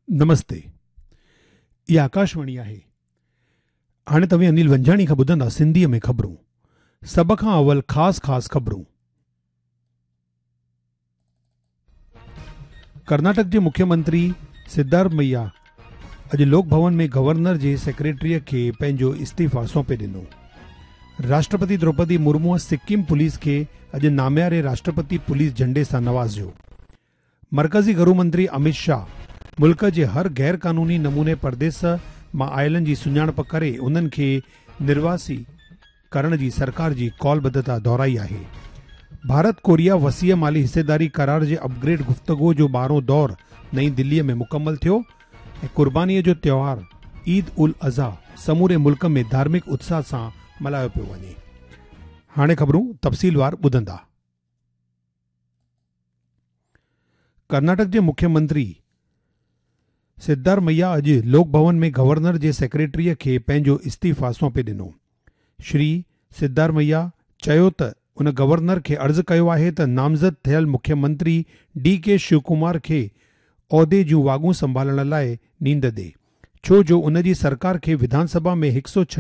نمستي اها آڪاشواڻي آهي. هاڻي توهين انيل ونجهاڻي کان ٻڌندا سنڌيء ۾ خبرون. سڀ کان اول خاص خاص خبرون. ڪرناٽڪ جي مکيه منتري سدارمئيا اڄ لوڪ ڀون ۾ گورنر جي سيڪريٽريء کي پنهنجو استعيفا سونپي ڏنو. راشٽرپتي دروپدي مرموء سڪم پوليس کي اڄ نامياري راشٽرپتي پوليس جهنڊي سان نوازيو. مرڪزي گهرو منتري اميت شاهه ملڪ جي هر غير قانوني نموني پرديس مان آيلن جي سڃاڻپ ڪري انهن کي نرواسي ڪرڻ جي سرڪار جي قول ٻڌتا دهرائي آهي. ڀارت ڪوريا وسيع مالي حصيداري قرار جي اپ گريڊ گفتگو جو ٻارهون دور نئين دلي ۾ مڪمل ٿيو ۽ قرباني جو تيوهار عيد الاضحيٰ سموري ملڪ ۾ ڌارمڪ اتساهه سان ملهايو پيو وڃي. هاڻي خبرون تفصيلوار ٻڌندا. ڪرناٽڪ جي مکيه منتري سدارمئيا اڄ لوڪ ڀون ۾ گورنر جي سيڪريٽريء کي پنهنجو استعيفا سونپي ڏنو. شري سدارمئيا چيو ته ان گورنر کي عرض ڪيو آهي ته نامزد ٿيل مکيه منتري ڊي ڪي شوڪمار کي عهدي جون واڳون سنڀالڻ لاء نينڍ ڏي ڇو جو ان جي سرڪار کي وڌان سڀا ۾ هڪ سئو.